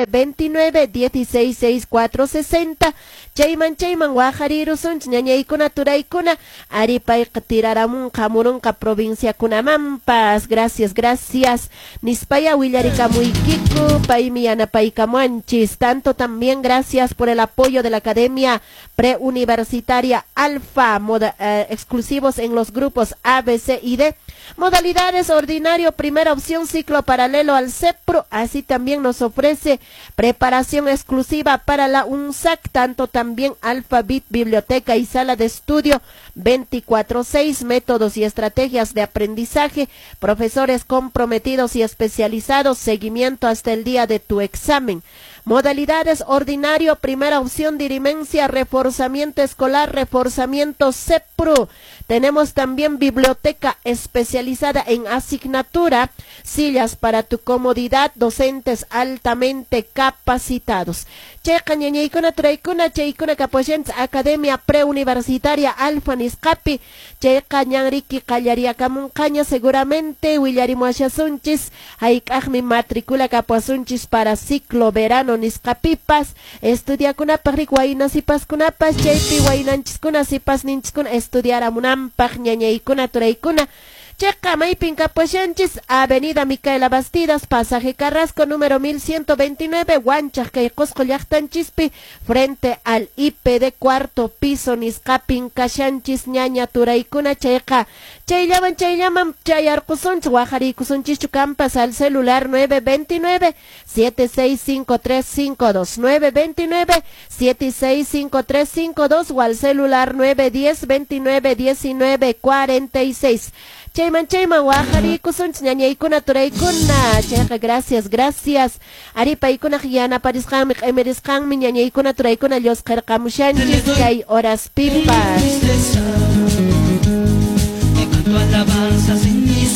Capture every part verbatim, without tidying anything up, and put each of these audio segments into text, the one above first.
veintinueve dieciséis seis cuatro sesenta. Chayman chayman waqarirusunchis ñañaykuna turaykuna, ari payqa tiraramunqa hamurunqa provinciakunamanpas. Gracias, gracias nispaya willarikamuykiku, paymi yanapaykamuanchis. Tanto también gracias por el apoyo de la Academia Preuniversitaria Alfa, moda, eh, exclusivos en los grupos A, B, C y D. Modalidades ordinario, primera opción, ciclo paralelo al CEPRO. Así también nos ofrece preparación exclusiva para la UNSAC, tanto también Alfa Bit, biblioteca y sala de estudio veinticuatro seis, métodos y estrategias de aprendizaje, profesores comprometidos y especializados, seguimiento hasta el día de tu examen. Modalidades ordinario, primera opción, dirimencia, reforzamiento escolar, reforzamiento CEPRU. Tenemos también biblioteca especializada en asignatura, sillas para tu comodidad, docentes altamente capacitados. Chayqa ñañaykuna turaykuna, chaykuna kapuashanchis Academia Preuniversitaria Alfa nisqapi. Chayqa ñanriki qallariakamunqaña seguramente, willarimuashasunchis hayk'aqmi matricula kapuasunchis para ciclo verano nisqapipas. Estudiakunapaq rik wayna sipaskunapas, chaypi waynanchiskuna sipasninchiskuna estudiaramunanpaq ñañaykuna turaykuna. Chayqa maypin kapuashanchis Avenida Micaela Bastidas, pasaje Carrasco, número mil ciento veintinueve, Huanchaq kay Qosqo llaqtanchispi, frente al I P D cuarto piso nisqapin kashanchis ñaña turaykuna. Chayqa chayllaman chayllaman chayarqusunchis, waqariykusunchischu kampas al celular nueve veintinueve, siete seis cinco tres cinco dos, nueve veintinueve, siete seis cinco tres cinco dos o al celular nueve diez, veintinueve, diecinueve, cuarenta y seis. Chayman chayman waqariykusunchis ñañaykuna turaykuna. Chayqa gracias, gracias. Ari paykunaq yanaparisqanmi q'imirisqanmi ñañaykuna turaykuna llusqirqamushanchis kay horaspipas.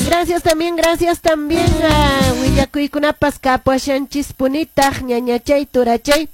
Gracias también, gracias también a willakuykunapas kapuashanchis punitaq ñañachay turachay.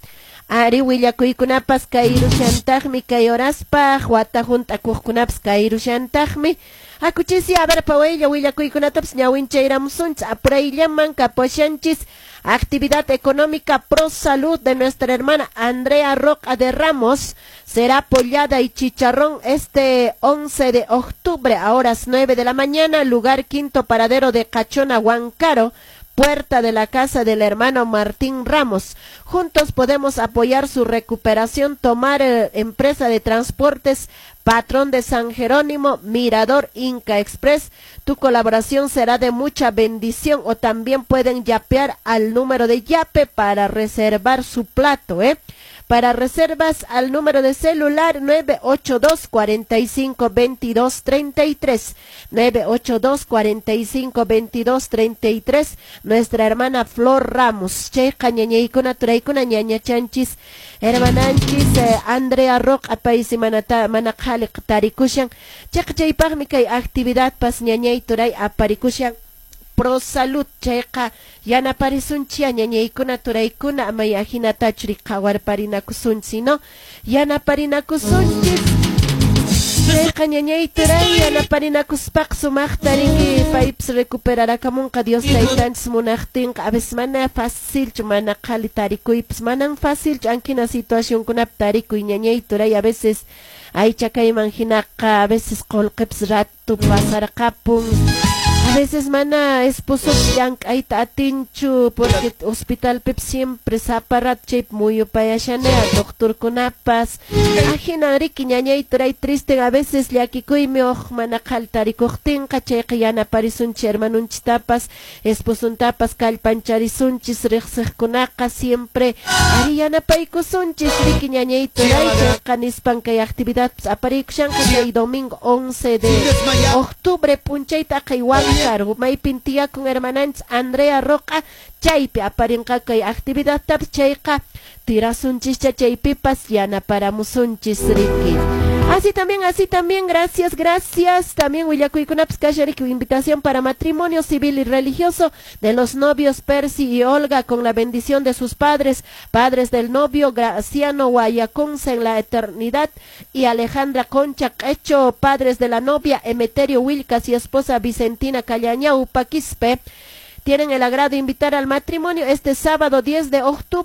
Ari willakuykunapas kayrushantaqmi kay horaspaq, wata hunt'akuqkunapas kayrushantaqmi. Hakuchisi, a ver, pawaylla willakuykunatapas ñawinchayramusunchis apurayllaman kapuashanchis. Actividad económica pro salud de nuestra hermana Andrea Roca de Ramos será pollada y chicharrón este once de octubre a horas nueve de la mañana, lugar quinto paradero de Cachona, Huancaro, puerta de la casa del hermano Martín Ramos. Juntos podemos apoyar su recuperación, tomar, eh, empresa de transportes Patrón de San Jerónimo, Mirador Inca Express. Tu colaboración será de mucha bendición, o también pueden yapear al número de yape para reservar su plato, ¿eh? Para reservas al número de celular nueve ocho dos, cuarenta y cinco, veintidós, treinta y tres, nueve ocho dos, cuarenta y cinco, veintidós, treinta y tres, nuestra hermana Flor Ramos. Chayqa ñañaykuna turaykuna ñañachanchis hermananchis, eh, Andrea Roca paysi manata mana qhaliq tarikushan. Chayqa chaypaqmi kay actividad pas ñañay turay aparikushan pro salud. Chayqa yanaparisunchis ñañaykuna turaykuna, amay ahinatachu rik qhawarparinakusunchis, ¿no? Yanaparinakusunchis. Chayqa ñañay turay yanaparinakuspaq sumaqta riki paypis recuperarakamunqa Dios taytanchis munaqtinqa. A veces mana facilchu, mana qhali tarikuypis manan facilchu ankina situacionkunapi tarikuy ñañay turay. A veces aycha kayman hinaqa, a veces qullqipis ratu pasarqapun. A veces mana esposo llank'ayta atinchu porque hospitalpipis siempre sapa rato chaypi muyupayashanea doctorkunapas. Ahinan riki ñañay turay triste a veces llakikuymi uq mana qhali tarikuqtinqa. Chayqa yanaparisunchis hermanunchistapas esposuntapas kallpancharisunchis riqsiqkunaqa siempre ari yanapaykusunchis riki ñañay turay. Chayqa nispan kay actividadpas aparikushanqa chay domingo once de octubre p'unchayta aqhay Huancar maypin tiyakun hermananchis Andrea Roca, chaypi aparinqa kay actividadtapas. Chayqa tirasunchischa chaypipas yanaparamusunchis riki. Así también, así también, gracias, gracias. También willakuykunapas kashan riki, invitación para matrimonio civil y religioso de los novios Percy y Olga con la bendición de sus padres, padres del novio Graciano Guayaconza en la eternidad y Alejandra Concha Quecho, padres de la novia Emeterio Wilcas y esposa Vicentina Callañau Paquispe. Tienen el agrado de invitar al matrimonio este sábado diez de octubre.